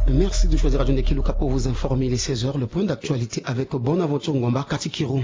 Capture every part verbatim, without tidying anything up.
Merci de choisir Radio Ndekiluka pour vous informer. Il est seize heures, le point d'actualité avec Bonaventure Ngomba Katikiro.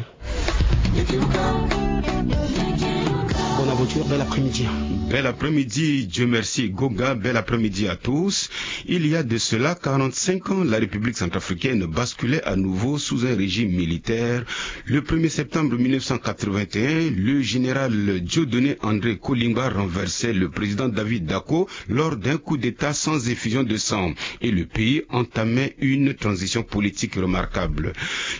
Bonaventure, bel après-midi. Bel après-midi, Dieu merci Goga, bel après-midi à tous. Il y a de cela quarante-cinq ans, la République centrafricaine basculait à nouveau sous un régime militaire. Le premier septembre mille neuf cent quatre-vingt-un, le général Dieudonné André Kolingba renversait le président David Dacko lors d'un coup d'État sans effusion de sang et le pays entamait une transition politique remarquable.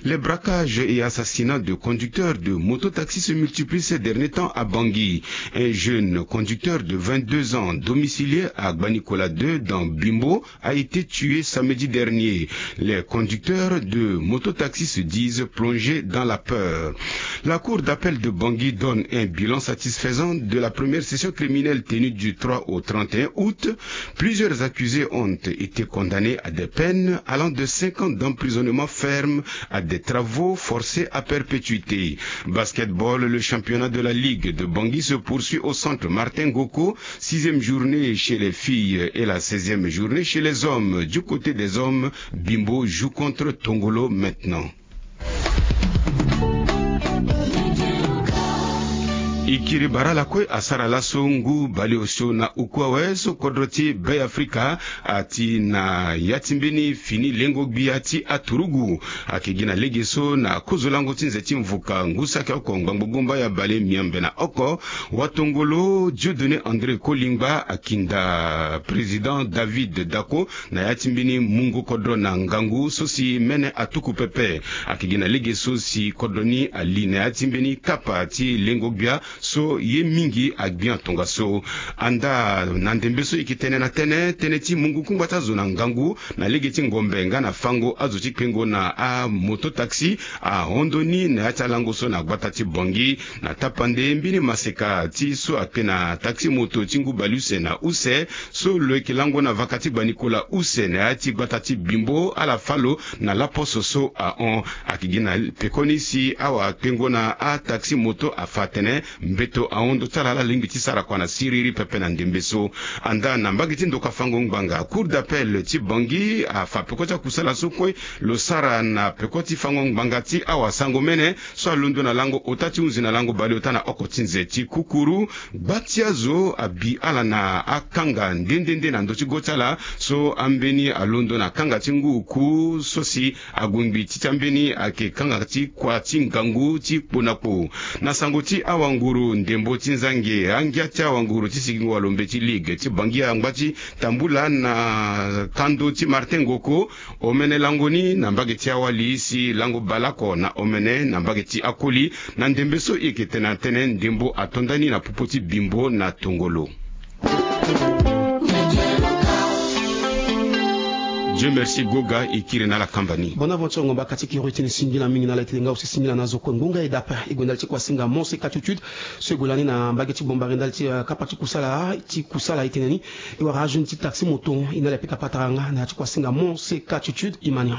Les braquages et assassinats de conducteurs de mototaxi se multiplient ces derniers temps à Bangui. Un jeune conducteur de vingt-deux ans, domicilié à Gbanikola deux dans Bimbo, a été tué samedi dernier. Les conducteurs de mototaxi se disent plongés dans la peur. La cour d'appel de Bangui donne un bilan satisfaisant de la première session criminelle tenue du trois au trente et un août. Plusieurs accusés ont été condamnés à des peines allant de cinq ans d'emprisonnement ferme à des travaux forcés à perpétuité. Basketball, le championnat de la Ligue de Bangui se poursuit au centre Martin Goko. Sixième journée chez les filles et la seizième journée chez les hommes. Du côté des hommes, Bimbo joue contre Tongolo maintenant. E kiri bara lakue asara laso ngu baleosio na uku awe so kodro ti Be Afrika ati na ya ti mbeni fini lengo gbia ti aturugu. Ayeke gi na lege so na kozo lango ti nze ti mvuka ngu saki oko ngbangbo gomba ya bale miambe na oko, watongolo Dieudonné André Kolingba akinda président David Dacko na ya ti mbeni mungo kodro na ngangu so si mene atuku pepe. Ayeke gi na lege so si kodro ni ali na ya ti mbeni kapa ti lengo gbia so ye mingi agbia tongaso. Anda na ndembe so e yeke tene na tënë, tënë ti mungu kungba ti azo na ngangu na lege ti ngombe nga na fango azo ti kpengo na amoto taxi ahon ndoni na ya ti alango so na gbata ti Bangui. Na tapande mbeni maseka ti so akpe na taxi moto ti ngu baleuse na use so lo yeke lango na vaka ti gbanikola use na ya ti gbata ti Bimbo ala fâ lo na laposo so ahon. Ayeke gi na pekoni si awa kpengo na ataxi moto afa atene mbeto ahon ndo ti ala ala lingbi ti sara kua na siriri pepe na ndembe so. Anda na mbage ti ndoka fango ngbanga, cour d'appel ti Bangui afa peko ti akusala so kue lo sara na peko ti fango ngbanga ti awasango mene so alondo na lango ota ti hunzi na lango baleota na oko ti nze ti kukuru. Gba ti azo abi ala na akanga nde nde nde na ndö ti go ti ala so ambeni alondo na kanga ti ngu oku so si agongbi ti ti ambeni ayeke kanga ti kua ti ngangu ti kpo na kpo. Na sango ti awanguru ndembo ti nzange, angia ti awanguru ti sigingo walombe ti ligue ti Bangui angba ti tambula na kando ti Martin Ngoko, omene lango ni na mbage ti awali si lango baleoko na omene na mbage ti akoli. Na ndembe so e yeke tene na tënë ndembo ato ndani na popo ti Bimbo na tongolo. Dieu merci Goga, e kiri na ala kamba ni. Bonaventure Ngomba Katikiro e tene singila mingi na ala e tene nga aussi singila na azo kue ngonga e dapa e gue ndali ti kuasinga Monseka Tutude so e gue lani na mbage ti Bombari ndali ti, eh, kapa ti kusala ti kusala e tene ni. E wara ajeune ti taxi moto e na ala e pika patara nga na ya ti kuasinga Monseka Tutude. Imania.